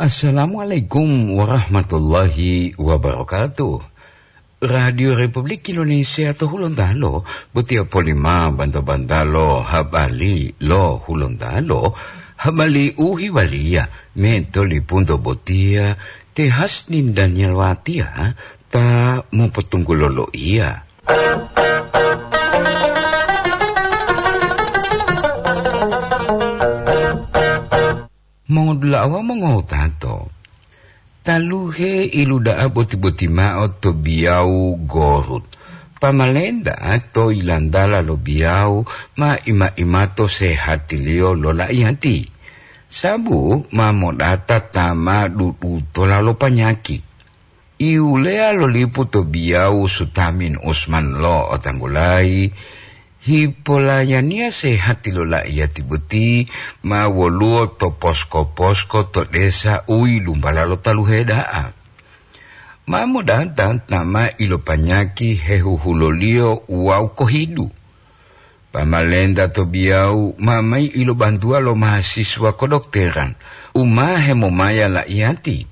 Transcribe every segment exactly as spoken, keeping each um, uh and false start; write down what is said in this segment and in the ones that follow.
Assalamualaikum warahmatullahi wabarakatuh. Radio Republik Indonesia to Hulontalo, botiya polima banta-bantalo habali lo Hulontalo, habali u hiwaliya me tolipunto botiya te Hasnin Daniel Watiya ta mopotunggulo loiya. Mongodula'a wawu mongotato, taluhe iluda'a boti-boti mao to biyawu Gorut. Pamalenta to yilantala lo biyawu ma ima-imato sehatiliyo lo la'iyati, sabu ma modata ta ma dudutola lo panyaki. Iwuleya lo lipu to biyawu Sutamin Usman lo otanggulayi, hipolayaniya sehati lo la'iyati boti ma woluwo to posko-posko to desa u yilumbala lo taluhe da'a. Ma modata ta ma ilopanyaki hehuhuloliyo wawu kohidu. Pamalenta to biyawu ma mayi ilobantuwa lo mahasiswa kodokteran u ma hemomaya la'iyati.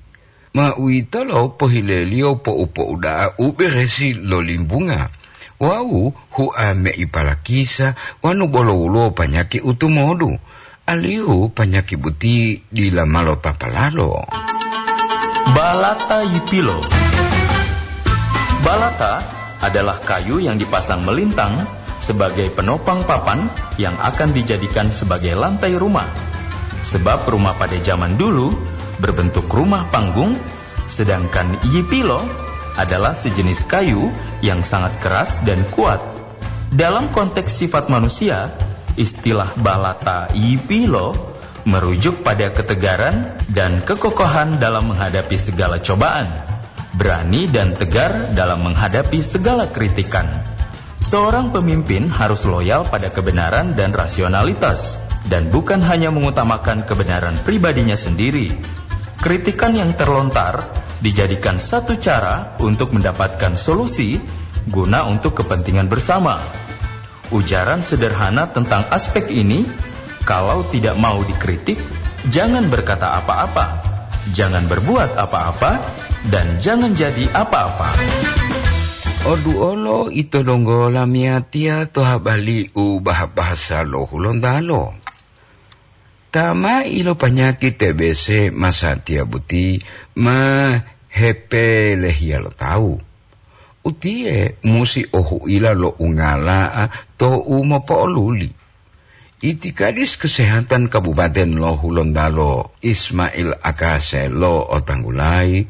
Ma uwitolo pohileliyo po'u-po'u da'a u beresi lo limbunga wawu hua me'i palakisa wanu bolo woluwo panyaki u tumodu, alihu panyaki boti dila ma lotapalalo. Balata Yipilo. Balata adalah kayu yang dipasang melintang sebagai penopang papan yang akan dijadikan sebagai lantai rumah. Sebab rumah pada zaman dulu berbentuk rumah panggung, sedangkan yipilo adalah sejenis kayu yang sangat keras dan kuat. Dalam konteks sifat manusia, istilah balata yipilo merujuk pada ketegaran dan kekokohan dalam menghadapi segala cobaan, berani dan tegar dalam menghadapi segala kritikan. Seorang pemimpin harus loyal pada kebenaran dan rasionalitas, dan bukan hanya mengutamakan kebenaran pribadinya sendiri. Kritikan yang terlontar dijadikan satu cara untuk mendapatkan solusi guna untuk kepentingan bersama. Ujaran sederhana tentang aspek ini, kalau tidak mau dikritik, jangan berkata apa-apa, jangan berbuat apa-apa, dan jangan jadi apa-apa. Odu olo ito donggo lamiyatiya to habali u bahasa lo Hulontalo. Ta ma ilopanyaki T B C masatiya boti ma hepelehiya lo tawu. Utiye musi ohuila lo ungala'a to u mopo'oluli. Itikadis Kesehatan Kabupaten lo Hulontalo Ismail Akase lo otanggulayi,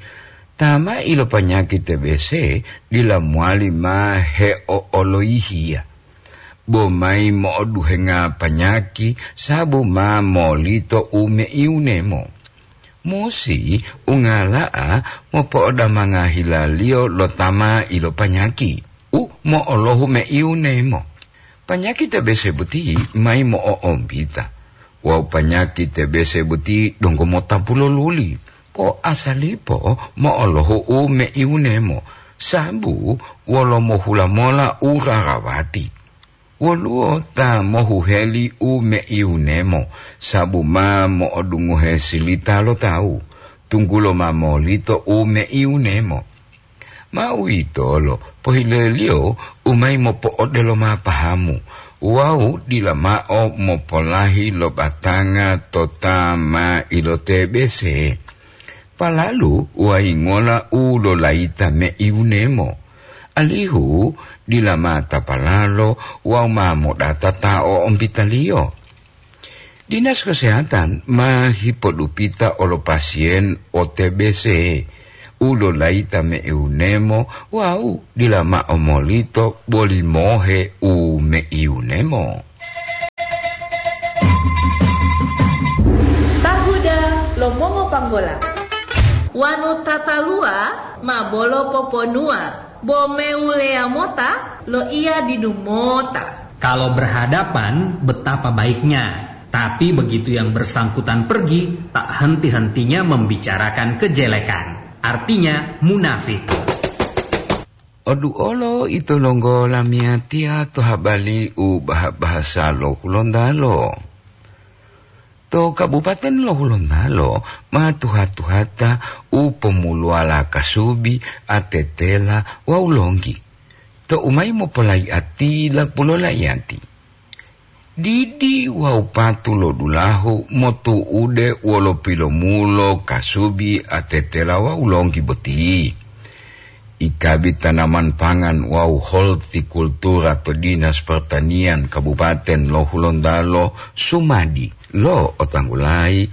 ta ma ilopanyaki T B C dila mowali ma heo'oloyihiya. Bo mayi mo'oduhenga panyaki sabu ma molito u meiunemo. Musi ungala'a mopo'odamanga hilaliyo lo ta ma ilopanyaki u mo'olohu meiunemo. Panyaki T B C boti mayi mo'o'ombita wawu panyaki T B C boti donggo mota puloluli. Po asalipo mo'olohu u meiunemo, sabu wolo mohula mola u rarawati. Woluwo ta mohuheli u meiunemo, sabu ma mo'odungohe silita lo tawu, tunggulo ma molito u meiunemo. Ma uwitolo pohileliyo u mayi mopo'odelo ma pahamu wawu dila mao mopolahi lo batanga to ta ma iloTBC. Palalu wayingola u lolayita meiunemo, alihu dila ma tapalalo wawu ma modata ta o'ompitaliyo. Dinas Kesehatan ma hipodupita olo pasien o TBC u lolayita meiunemo wawu dila mao molito boli mohe u meiunemo. Tahuda lo mongopanggola. Wanu tataluwa ma bolo poponuwa, bo meuleya mota loiya didu mota. Kalau berhadapan, betapa baiknya. Tapi begitu yang bersangkutan pergi, tak henti-hentinya membicarakan kejelekan. Artinya, munafik. Odu olo ito longgo lamiyatiya to habali u baha-bahasa lo Hulontalo. To Kabupaten lo Hulontalo ma tuha-tuhata u pomuluwala kasubi, atetela wawu longgi. To u mayi mopolaiya tila pulo laiyati. Didi wawu patu lo dulahu motu'ude wolo pilomulo kasubi, atetela wawu longgi boti. Ikabi tanaman pangan wawu hortikultura to Dinas Pertanian Kabupaten lo Hulontalo sumadi lo otanggulayi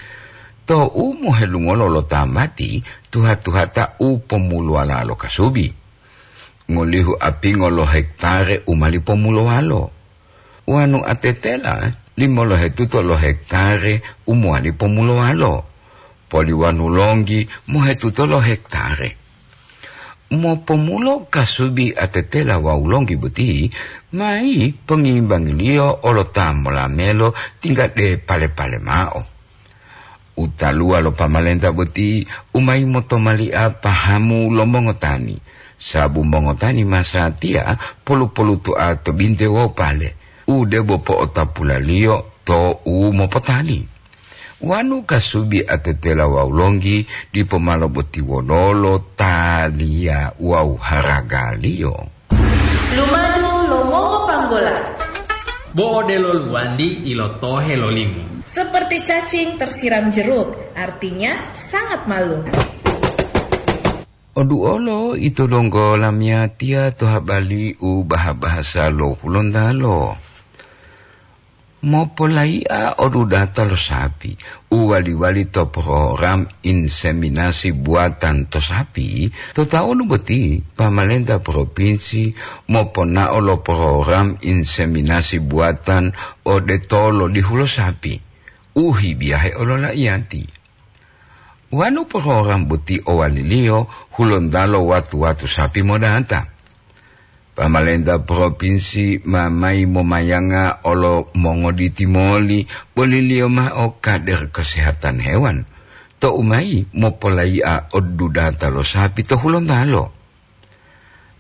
to u mohelungolo lo tambati tuha-tuhata u pomuluwala lo kasubi. Ngolihu apingo lo hektare u mali pomulowalo. Wanu atetela limolohetuto lo hektare u mowali pomulowalo. Poliwanu longgi mohetuto lo hektare. Mopomulo kasubi atetela wawu longgi boti, mayi pongimbangiliyo olo ta molamelo tingga de pale-pale mao. Utaluwa lo pamalenta boti u mayi motomalia pahamu lo mongotani, sabu mongotani masatiya polu-polutoa to binte wawu pale, u debo po'otapulaliyo to u mopotali. Wanu kasubi atetela wawu longgi dipo malo boti wololo taliya wawu haragaliyo. Lumadu lo mongopanggola. Bo odelo luwandi ilotohe lo limu. Seperti cacing tersiram jeruk, artinya sangat malu. Oduolo ito donggo lamiyatiya to habali u baha-bahasa lo Hulontalo. Mopolaiya odudata lo sapi u wali-wali to program inseminasi buatan to sapi, to taunu boti pamalenta propinsi moponao lo program inseminasi buatan ode tolo dihulo sapi u hibiyahe ololaiyati. Wanu program boti owaliliyo, Hulontalo watu-watu sapi modata. Pamalenta propinsi ma mayi momayanga olo mongoditi moli boliliyo mao kader kesehatan hewan, to u mayi mopolaiya odudata lo sapi to Hulontalo.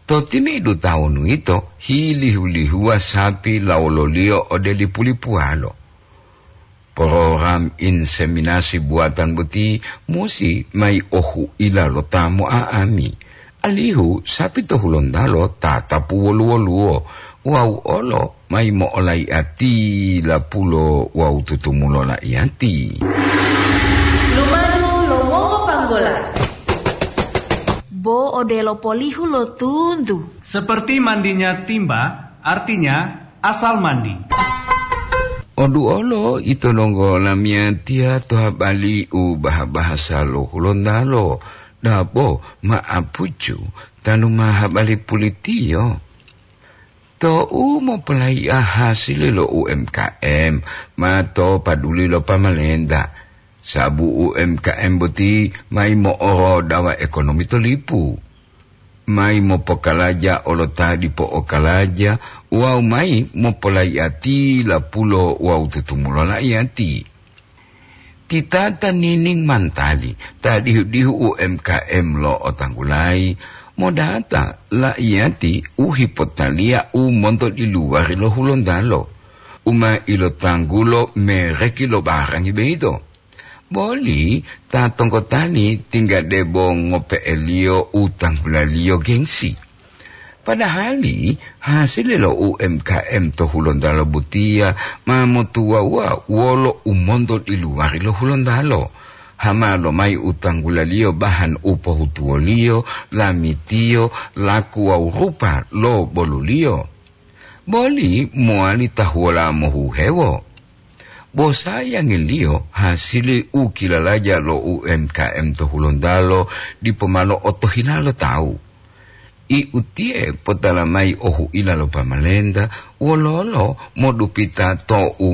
To timi'idu tawunu yito, hilihu-lihuwa sapi lawololiyo ode lipu-lipuwalo. Program inseminasi buatan boti musi mayi ohu'ila lo ta mo'a'ami, alihu sapi to Hulontalo tatapu wolu-woluwo wawu olo mayi mo'olaiya tila pulo wawu tutumulo laiyati. Lumadu lo mongopanggola. Bo odelo polihu lo tuntu. Seperti mandinya timba, artinya asal mandi. Oduolo ito donggo lamiyatiya to habali u baha-bahasa lo Hulontalo, dabo ma'apucu tanu ma habali pulitiyo. To u mopolaiya hasili lo U M K M, ma to paduli lo pamalenta, sabu U M K M boti mayi mo'orodawa ekonomi to lipu. Mayi mopokalaja olo ta dipo okalaja wawu mayi mopolaiya tila pulo wawu tutumulo laiyati. Titata Nining Mantali ta dihu-dihu U M K M lo otanggulayi modata laiyati u hipotaliya u monto diluwari lo Hulontalo, u ma ilotanggulo mereki lo barangi boyito. Boli ta tonggotani tingga debo ngope'eliyo u tanggulaliyo gengsi. Padahali hasili lo U M K M to Hulontalo botiya ma motuwawuwa wolo u monto diluwari lo Hulontalo. Hama lomayi u tanggulaliyo bahan u pohutuwoliyo, lamitiyo, laku wawu rupa lo boluliyo. Boli mowali tahuwola mohuhewo. Bo sayangiliyo hasili u kilalaja lo U M K M to Hulontalo dipo ma lo'otohila lo tawu. I utiye potala mayi ohu'ila lo pamalenta wololo modupita to u